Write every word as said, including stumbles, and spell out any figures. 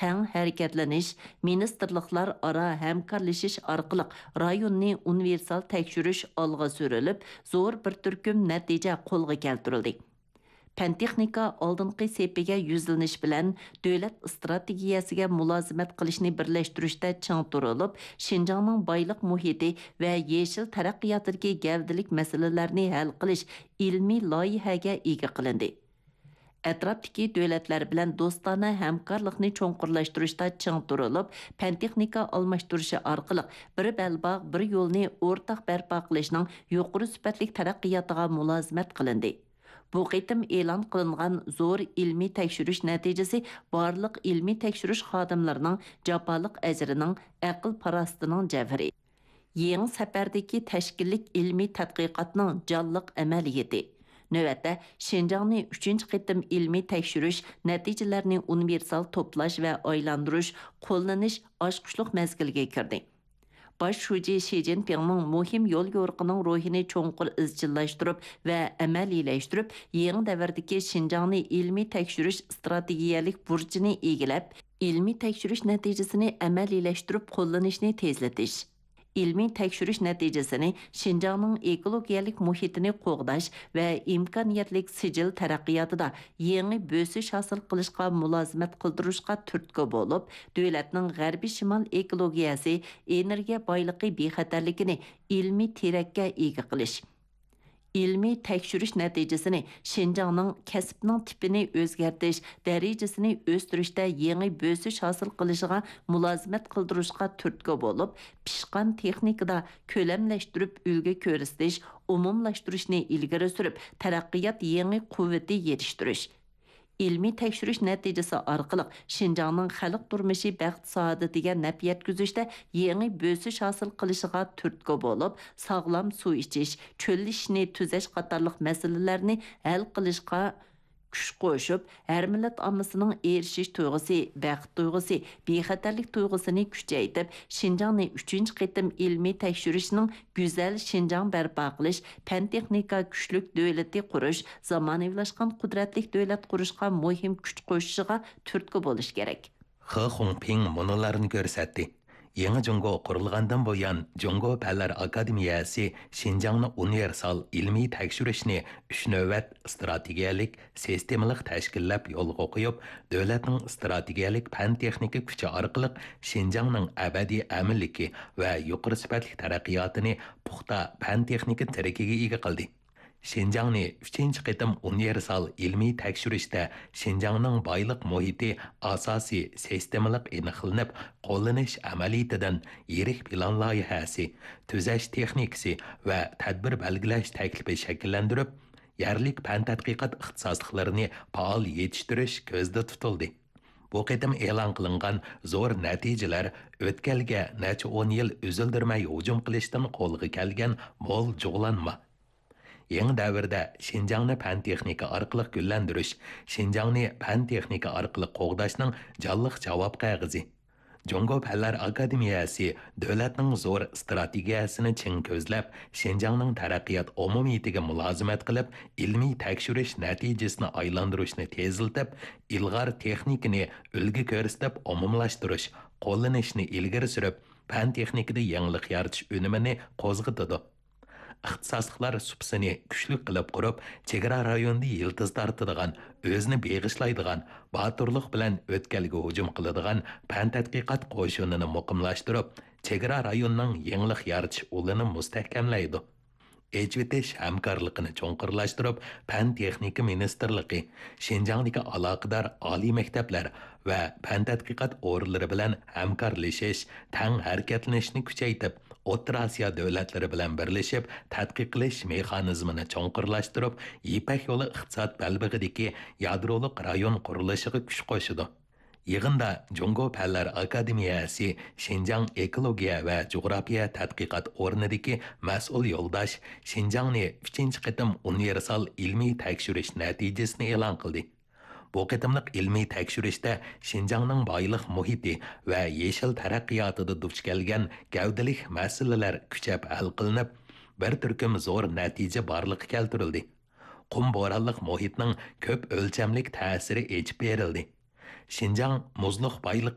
تەڭ ھەرىكەتلىنىش، مىنىستىرلىقلار ئارا ھەمكارلىشىش ئارقىلىق رايوننى ئۇنىۋېرسال تەكشۈرۈش ئالغا سۈرۈلۈپ، زور بىر تۈركۈم نەتىجە قولغا كەلتۈرۈلدى. پەن-تېخنىكا ئالدىنقى سېپىگە يۈزلىنىش بىلەن دۆلەت ئىستراتېگىيەسىگە مۇلازىمەت قىلىشنى بىرلەشتۈرۈشتە چىڭ تۇرۇلۇپ، شىنجاڭنىڭ بايلىق مۇھىتى ۋە يېشىل تەرەققىياتىدىكى گەۋدىلىك مەسىلىلەرنى ھەل قىلىش ئىلمىي لايىھەگە ئىگە قىلىندى. ئەتراپتىكى دۆلەتلەر بىلەن دوستانە ھەمكارلىقنى چوڭقۇرلاشتۇرۇشتا چىڭ تۇرۇلۇپ، پەن-تېخنىكا ئالماشتۇرۇشى ئارقىلىق بىر بەلباغ، بىر يولنى ئورتاق بەرپا قىلىشنىڭ يۇقىرى سۈپەتلىك تەرەققىياتىغا مۇلازىمەت قىلىندى. بۇ قېتىم ئېلان قىلىنغان زور ئىلمىي تەكشۈرۈش نەتىجىسى بارلىق ئىلمىي تەكشۈرۈش خادىملىرىنىڭ جاپالىق ئەجرىنىڭ، ئەقىل-پاراسىتىنىڭ جەۋھىرى. يېڭى سەپەردىكى تەشكىللىك ئىلمىي تەتقىقاتنىڭ جانلىق ئەمەلىيىتى. نۆۋەتتە، شىنجاڭنى ئۈچىنچى قېتىم ئىلمىي تەكشۈرۈش نەتىجىلەرنى ئۇنىۋېرسال توپلاش ۋە ئايلاندۇرۇش، قوللىنىش ئاچقۇچلۇق مەزگىلگە كىردى. باش شۇجى شى جىنپىڭنىڭ مۇھىم يوليورۇقىنىڭ روھىنى چوڭقۇر ئىزچىللاشتۇرۇپ ۋە ئەمەلىيلەشتۈرۈپ، يېڭى دەۋردىكى شىنجاڭنى ئىلمىي تەكشۈرۈش ئىستراتېگىيەلىك بۇرچىنى ئىگىلەپ، ئىلمىي تەكشۈرۈش نەتىجىسىنى ئەمەلىيلەشتۈرۈپ قوللىنىشنى تېزلىتىش. ئىلمىي تەكشۈرۈش نەتىجىسىنى شىنجاڭنىڭ ئېكولوگىيەلىك مۇھىتىنى قوغداش ۋە ئىمكانىيەتلىك سىجىل تەرەققىياتىدا يېڭى بۆسۈش ھاسىل قىلىشقا مۇلازىمەت قىلدۇرۇشقا تۈرتكە بولۇپ، دۆلەتنىڭ غەربىي شىمال ئېكولوگىيەسى، ئېنېرگىيە بايلىقى بىخەتەرلىكىنى ئىلمىي تىرەككە ئىگە قىلىش. ئىلمىي تەكشۈرۈش نەتىجىسىنى شىنجاڭنىڭ كەسىپنىڭ تىپىنى ئۆزگەرتىش، دەرىجىسىنى ئۆستۈرۈشتە يېڭى بۆسۈش ھاسىل قىلىشىغا مۇلازىمەت قىلدۇرۇشقا تۈرتكە بولۇپ، پىشقان تېخنىكىدا كۆلەملەشتۈرۈپ ئۈلگە كۆرسىتىش، ئومۇملاشتۇرۇشنى ئىلگىرى سۈرۈپ، تەرەققىيات يېڭى قۇۋۋىتى يېتىشتۈرۈش. ئىلمىي تەكشۈرۈش نەتىجىسى ئارقىلىق شىنجاڭنىڭ خەلق تۇرمۇشى بەخت-سائادىتىگە نەپ يەتكۈزۈشتە يېڭى بۆسۈش ھاسىل قىلىشىغا تۈرتكە بولۇپ، ساغلام سۇ ئىچىش، چۆللىشىشنى تۈزەش قاتارلىق مەسىلىلەرنى ھەل قىلىشقا كۈچ قوشۇپ، ھەر مىللەت ئاممىسىنىڭ ئېرىشىش تۇيغۇسى، بەخت تۇيغۇسى، بىخەتەرلىك تۇيغۇسىنى كۈچەيتىپ، شىنجاڭنى ئۈچىنچى قېتىم ئىلمىي تەكشۈرۈشنىڭ گۈزەل شىنجاڭ بەرپا قىلىش، پەن-تېخنىكا كۈچلۈك دۆلىتى قۇرۇش، زامانىۋىلاشقان قۇدرەتلىك دۆلەت قۇرۇشقا مۇھىم كۈچ قوشۇشىغا تۈرتكە بولۇش كېرەك. خې خۇڭپىڭ مۇنۇلارنى كۆرسەتتى: يېڭى جۇڭگو قۇرۇلغاندىن بۇيان، جۇڭگو پەنلەر ئاكادېمىيەسى شىنجاڭنى ئۇنىۋېرسال ئىلمىي تەكشۈرۈشنى ئۈچ نۆۋەت ئىستراتېگىيەلىك سىستېمىلىق تەشكىللەپ يولغا قويۇپ، دۆلەتنىڭ ئىستراتېگىيەلىك پەن-تېخنىكا كۈچى ئارقىلىق شىنجاڭنىڭ ئەبەدىي ئەمىنلىكى ۋە يۇقىرى سۈپەتلىك تەرەققىياتىنى پۇختا پەن-تېخنىكا تىرىكىگە ئىگە قىلدى. شىنجاڭنى ئۈچىنچى قېتىم ئۇنىۋېرسال ئىلمىي تەكشۈرۈشتە شىنجاڭنىڭ بايلىق مۇھىتى ئاساسىي سىستېمىلىق ئېنىقلىنىپ، قوللىنىش ئەمەلىيىتىدىن يىرىك پىلان لايىھەسى، تۈزەش تېخنىكىسى ۋە تەدبىر بەلگىلەش تەكلىپى شەكىللەندۈرۈپ، يەرلىك پەن تەتقىقات ئىختىساسلىقلىرىنى پائال يېتىشتۈرۈش كۆزدە تۇتۇلدى. بۇ قېتىم ئېلان قىلىنغان زور نەتىجىلەر ئۆتكەلگە نەچچە ئون يىل ئۈزۈلدۈرمەي ھۇجۇم قىلىشتىن قولغا كەلگەن مول جۇغلانما. يېڭى دەۋردە شىنجاڭنى پەن-تېخنىكا ئارقىلىق گۈللەندۈرۈش، شىنجاڭنى پەن-تېخنىكا ئارقىلىق قوغداشنىڭ جانلىق جاۋاب قەغىزى. جۇڭگو پەنلەر ئاكادېمىيەسى دۆلەتنىڭ زور ئىستراتېگىيەسىنى چىڭ كۆزلەپ، شىنجاڭنىڭ تەرەققىيات ئومۇمىيىتىگە مۇلازىمەت قىلىپ، ئىلمىي تەكشۈرۈش نەتىجىسىنى ئايلاندۇرۇشنى تېزلىتىپ، ئىلغار تېخنىكىنى ئۈلگە كۆرسىتىپ ئومۇملاشتۇرۇش، قوللىنىشنى ئىلگىرى سۈرۈپ، پەن-تېخنىكىدا يېڭىلىق يارىتىش ئۈنۈمىنى قوزغىتىدۇ. ئىختىساسلىقلار سۇپىسىنى كۈچلۈك قىلىپ قۇرۇپ، چېگرا رايونىدا يىلتىز تارتىدىغان، ئۆزىنى بېغىشلايدىغان، باتۇرلۇق بىلەن ئۆتكەلگە ھۇجۇم قىلىدىغان پەن تەتقىقات قوشۇنىنى مۇقىملاشتۇرۇپ، چېگرا رايونىنىڭ يېڭىلىق يارىتىش ئۇلىنى مۇستەھكەملەيدۇ. ئېچىۋېتىش ھەمكارلىقىنى چوڭقۇرلاشتۇرۇپ، پەن-تېخنىكا مىنىستىرلىقى، شىنجاڭدىكى ئالاقىدار ئالىي مەكتەپلەر ۋە پەن تەتقىقات ئورۇنلىرى بىلەن ھەمكارلىشىش، تەڭ ھەرىكەتلىنىشنى كۈچەيتىپ، ئوتتۇرا ئاسىيا دۆلەتلىرى بىلەن بىرلىشىپ تەتقىق قىلىش مېخانىزمىنى چوڭقۇرلاشتۇرۇپ، يىپەك يولى ئىقتىساد بەلبېغىدىكى يادرولۇق رايون قۇرۇلۇشىغا كۈچ قوشىدۇ. يىغىندا جۇڭگو پەنلەر ئاكادېمىيەسى شىنجاڭ ئېكولوگىيە ۋە جۇغراپىيە تەتقىقات ئورنىدىكى مەسئۇل يولداش شىنجاڭنى ئۈچىنچى قېتىم ئۇنىۋېرسال ئىلمىي تەكشۈرۈش نەتىجىسىنى ئېلان قىلدى. بۇ قېتىملىق ئىلمىي تەكشۈرۈشتە شىنجاڭنىڭ بايلىق مۇھىتى ۋە يېشىل تەرەققىياتىدا دۇچ كەلگەن گەۋدىلىك مەسىلىلەر كۈچەپ ھەل قىلىنىپ، بىر تۈركۈم زور نەتىجە بارلىققا كەلتۈرۈلدى. قۇم بورانلىق مۇھىتنىڭ كۆپ ئۆلچەملىك تەسىرى ئېچىپ بېرىلدى. شىنجاڭ مۇزلۇق بايلىق